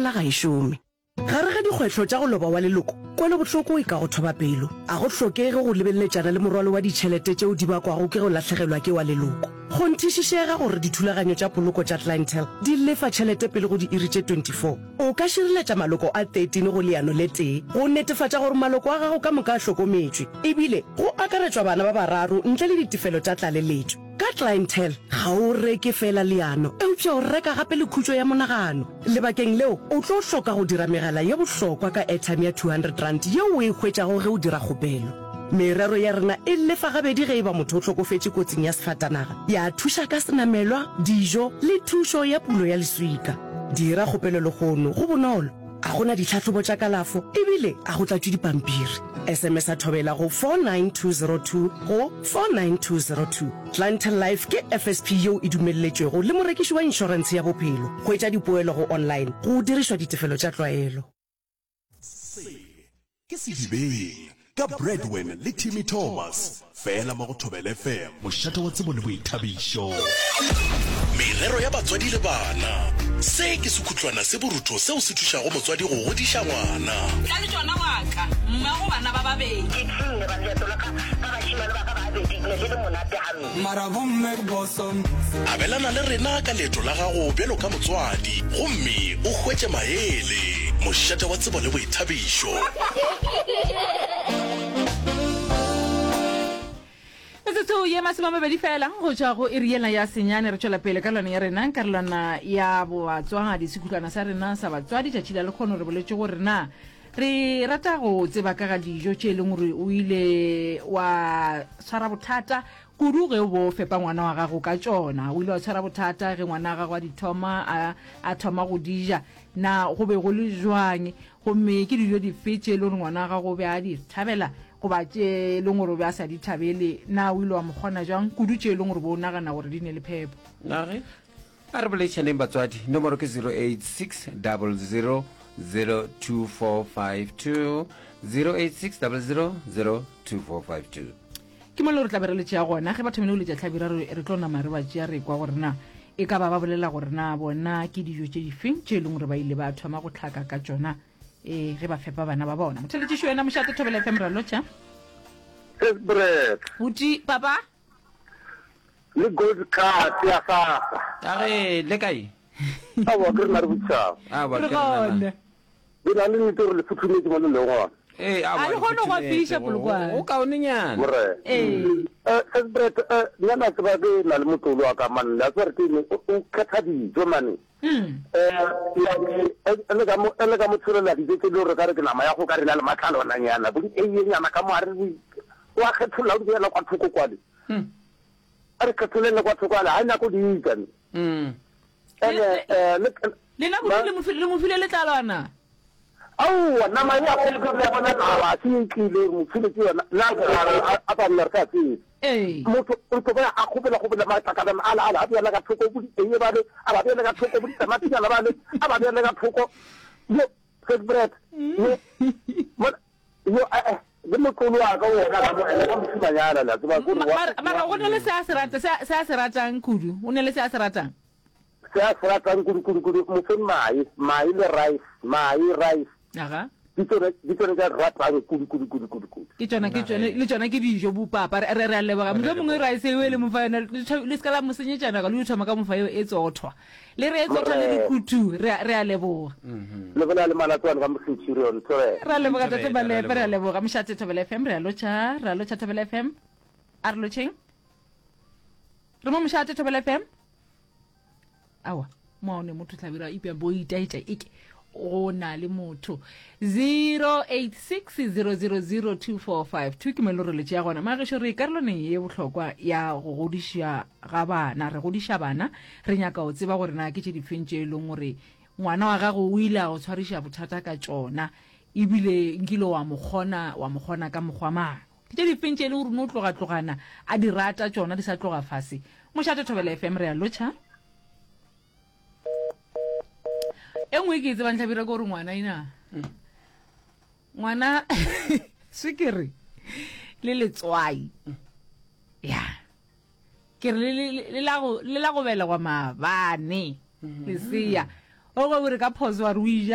Tlogela ga e šome. Gare ga dikgwetlho tša go loba wa leloko, kwelobohloko e ka go thoba pelo. A go hlokege go lebeleletšana le morwalo wa ditšhelete tšeo di bakwago ke go lahlegelwa ke wa leloko. Kgonthišišega gore dithulaganyo tša poloko tša Clientele di lefa tšhelete pele go diiri tše 24. O ka šireletša maloko a 13 go leano le tee go netefatša gore maloko a gago ka moka a hlokometšwe, ebile go akaretšwa bana ba bararo ntle le ditefelo tša tlaleletšo. Ka Clientele, ga o reke feela leano, eupša o reka gape le khutšo ya monagano. Lebakeng leo, o tlo hloka go dira megala ye bohlokwa ka airtime ya R200 yeo o e hwetšago ge o dira kgopelo. Merero ya rena e lefa gabedi ge e ba motho o hlokofetše kotsing ya sefatanaga, ya thuša ka senamelwa, dijo le thušo ya pulo ya leswika. Dira kgopelo lehono, go bonolo, ga go na ditlhahlobo tša kalafo ebile ga go tlatšwe dipampiri. SMS-a Thobela go 49202 go 49202. Clientele Life ke FSP yeo e dumelletšwego le morekiši wa inšorentshe ya bophelo. Hwetša dipoelo go online go dirišwa ditefelo tša tlwaelo. Se ke Sedibeng ka Bradwin le Timmy Thomas, fela mo go Thobela FM. Mošate wa tsebo le boithabišo. Merero ya batswadi le bana. Se ke sekhutlwana se borutho seo se thušago motswadi go godiša ngwana. Tla le tšona wa ka, mmago bana ba babedi. Ke tšhunne ba leeto la ka ka bašemane ba ka ba babedi, ne le le monate gampe. Mara bomme ke boso. Abelana le rena ka leeto la gago bjalo ka motswadi gomme o hwetše maele. Mošate wa tsebo le boithabišo. Metsotso ye masomamabedi fela go tšwa go iri yela ya senyane re tšwela pele karolwana ya rena karolwana ya bobatswadi sekhutlwana sa rena sa batswadi tšatši la lekgono re boletše gore na re rata go tseba ka ga dijo tše e leng gore o ile wa tshwara bothata kudu ge o bo fepa ngwana wa gago ka tšona o ile wa tshwara bothata ge ngwana wa gago a di thoma a, a thoma go di ja na go be go le jwang Gomme ke dijo dife tše e le gore ngwana wa gago o be a di thabela goba tše e leng gore o be a sa di thabele? Na o ile wa mo kgona jang, kudu tše e leng gore o be o nagana gore di ne le phepo? Na ge a re boledišaneng batswadi, nomoro ke 086 00 02452, 086 00 02452. Ke mo le re tla be re le tšea gona. Ge ba thomile go letša hlabirwa, re, re tlo nama re ba tšea re kwa gore na e ka ba ba bolela gore na bona ke dijo tše difeng tše e leng gore ba ile ba thoma go hlaka ka tšona e ge ba fepa bana ba bona. Motheletšiši wena mošate Thobela FM ra lotšha. Bread. Buti papa. Le gold card ya SASSA. A ge le kae? Aowa ke rena re botšišago. Aowa Re ke rena gona. Ke na le nnete gore le futhumetse mo le leng gona. Ee, aowa, A re le kgone go futhumetse. fiša Go- Polokwane. Go kaonenyana. Morena. Ee. Eh, Sis Brett, eh, nna na tseba ke na le motlolo wa ka mane, la tseba re ke eng, o o kgetha dijo mane. Eh, like, eh, le ka mo, eh, le ka mo tshelela dijo tse le gore ka re ke nama ya go ka re na le matlalwananyana, bo di-eiyenyana ka mo gare, di- o a kgetholla o di beela kwa thoko kwale. A re kgetholele kwa thoko ale, ga e nyako di ja ne. Ene, eh, le, Lena kudu le mo file, le mo file letlalwana. Aowa, nama ya go ke le bona nama a se e tlile mo file ke yona. Nna ke a a ba nna re sa tsebe. Ee. Motho o tlo ba a kgopela kgopela matlakala ala ala a beela ka thoko bo di ba le a ba beela ka thoko bo ditamatinyana ba le a ba beela ka thoko. Yo, fat bread. Yo. Bona yo eh eh le motlolo wa ka wona ka mo ene ka mosimanyana la tseba gore wa. Mara mara go ne le se a se rata se a se ratang kudu. O ne le se a se ratang. Se a se ratang kudu kudu kudu mo fe mae, mae le rice, mae, rice. Aga. Ke tsone ke tsone tsa ratang kudu kudu kudu kudu kudu. Ke tsona ke tsone le tsona ke dijo bo papa re re a leboga. Mohlomongwe rice eo e le mo fa yona le se ka la mo senyetšana ka le thoma ka mo fa eo e tsothwa. Le re e tsothwa le re kutu re re a leboga. Le bolela le Malatsoane ka mo Centurion Thobela. Re a leboga Tate Malepe re a leboga Mošate Thobela FM re a lotšha re a lotšha Thobela FM. A re lotšheng. Re mo Mošate Thobela FM. Awa, mo ne motho hlabira ipya bo itaetša eke go na le motho 0860002452 ke mo e le gore le tšea gona magešo re karolwaneng ye bohlokwa ya go godiša ga bana re godiša bana re nyaka go tseba gore na ke tše difeng tše e leng gore ngwana wa gago o ile a go tshwariša bothata ka tšona ebile nkile wa mo kgona wa mo kgona ka mokgwa mang Ke tše difeng tše e le gore o no tloga-tlogana a di rata tšona di sa tloga fase? Mošate Thobela FM re a lotšha. E nngwe ke e tsebang Hlabirwa ke gore ngwana ina ngwana swikiri le letswai ya ke re le la go belegwa maabane lesea o go re ka phoso wa re o ija.